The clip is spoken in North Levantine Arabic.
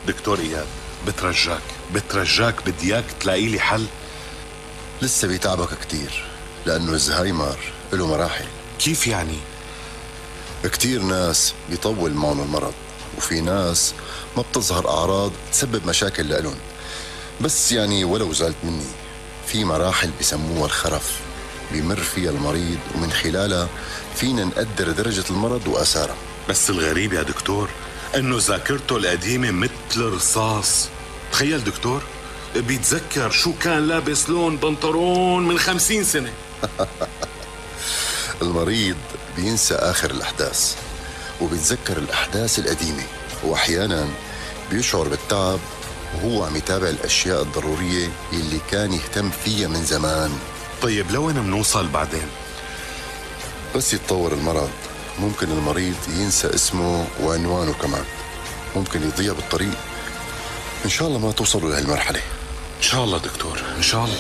دكتور إياد، بترجاك بدي اياك تلاقي لي حل. لسه بيتعبك كتير، لأنه الزهايمر له مراحل. كيف يعني؟ كتير ناس بيطول معهم المرض، وفي ناس ما بتظهر أعراض تسبب مشاكل لإلهم، بس يعني ولو زعلت مني في مراحل بيسموها الخرف بيمر فيها المريض، ومن خلالها فينا نقدر درجة المرض وآثارها. بس الغريب يا دكتور انه ذاكرته القديمة مثل الرصاص. تخيل دكتور، بيتذكر شو كان لابس لون بنطلون من 50 سنة. المريض بينسى آخر الأحداث وبيتذكر الأحداث القديمة، وأحيانا بيشعر بالتعب وهو عم يتابع الأشياء الضرورية اللي كان يهتم فيها من زمان. طيب لوين منوصل بعدين؟ بس يتطور المرض ممكن المريض ينسى اسمه وعنوانه كمان، ممكن يضيع بالطريق. إن شاء الله ما توصلوا لهالمرحلة. إن شاء الله دكتور، إن شاء الله.